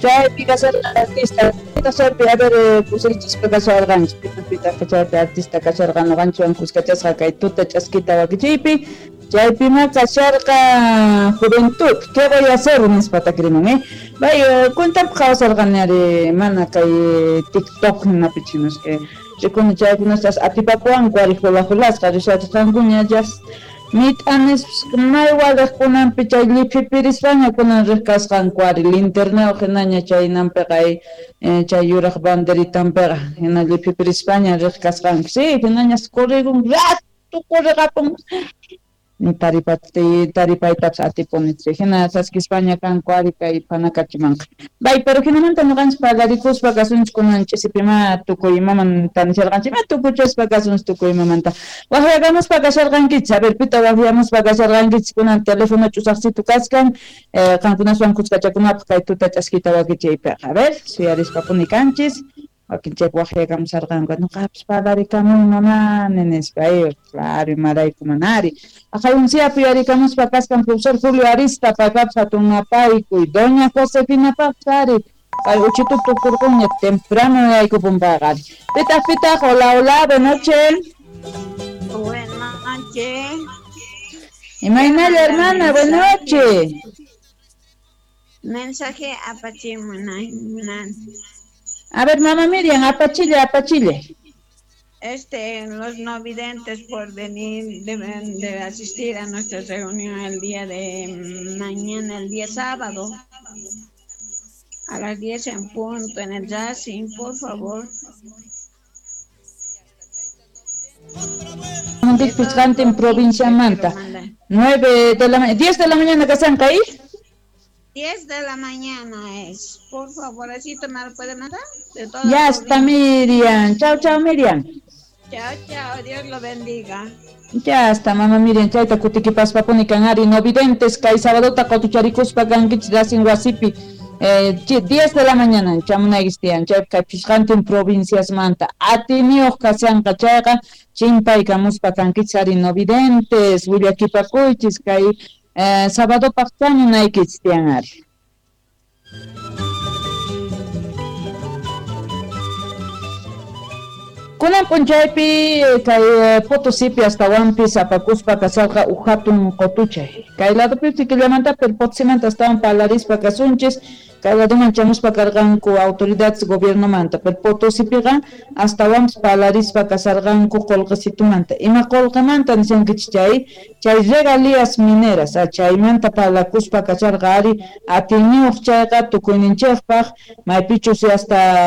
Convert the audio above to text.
Chaypi kasharqa artista, chaypi a ver pusarichispa kasharqanchik, pitaq chaypi artista kasharqa noqanchikwan kuskachasqa kay tuta ch'askita wakichiypi, chaypima kasharqa juventud, ¿qué voy a hacer? Nispa takirimun, eh? Bay, cuentanpi qhawasarqani ari mana kay TikTok hinapi chinos que rikuni chaykunastas atipakuwanku ari hula hulasqa rishachisqankuña just mit'anis may waliq kunanpi chay lliphipirispaña kunan riq kasqanku ari linternayuq hinaña chaynanpiqa chay yuraq banderitanpiqa hina lliphipirispaña riq kasqanku sí hinañas corrigun rato corriqapun taripaytapas atipuni hina saskispaña kanku ari kay phanakachimanqa. Bay, pero hinamanta ñuqanchik parlarikuspa kasunchik kunan ch'isipima tukuy imaman tanisharqanchik, ima tukuchaspa kasunchik tukuy imamanta. Waqyakamuspa kasharqankichik, a ver, pita waqyamuspa kasharqankichik kunan teléfono ch'usaqsitu kachkan, qankunaswan kuskachakunapaq kay tuta ch'askita wakichiypiqa. A ver, suyarispapuni kanchis. Wakin chaypi waqyakamusharqanku, ñuqapas parlarikamun mamani nispa, claro, imarayku manari. Aqayunsiapi yarikamuspa kaskan profesor Julio Arista, paypapas hatun napaykuy, doña Josefinapaqpas ari, pay uchitu tukurqunña temprano yaykupun payqa ari. Pitaq, pitaq, hola, hola, buenas noches. Buenas noches. Imaynalla, hermana, buenas noches. Mensaje apachimunan. A ver, mamá Miriam, apachille, apachille. Los no videntes por venir, deben de asistir a nuestra reunión el día de mañana, el día sábado, a las 10 en punto, en el Racing, por favor. En provincia Manta. 9 de la mañana, 10 de la mañana, ¿qué ahí? 10 de la mañana es. Por favor, así me lo puede mandar. De toda Ya está, Miriam. Chao, chao, Miriam. Chao, chao. Dios lo bendiga. Ya está, mamá Miriam. Chayta kutikipaspapuni kan ari no videntes kay sabadota qotucharikuspa kankichik Racing wasipi. 10 de la mañana chamunaykichik tiyan. Chay kay pishqantin provincias manta. Atiniyuq kashanqa chayqa chimpaykamuspa kankichik ari no videntes willakipakuychis kay sábado chamunaykichik tiyan ari. Kunan p'unchaypi kay Potosipi astawanpis apakuspa kasarqa uj hatun qotuchay. Kay ladopi killamanta pero Potosimanta astawan parlarispa kasunchis, kay ladoman chamuspa karqanku autoridades gobiernomanta, pero Potosipiqa astawanpis parlarispa kasarqanku qullqisitumanta. Ima qullqimanta nishankichik chay, chay regalías mineras, chaymanta parlakuspa kasarqa ari atiniyuq chayqa tukuyninchikpaq maypichus hasta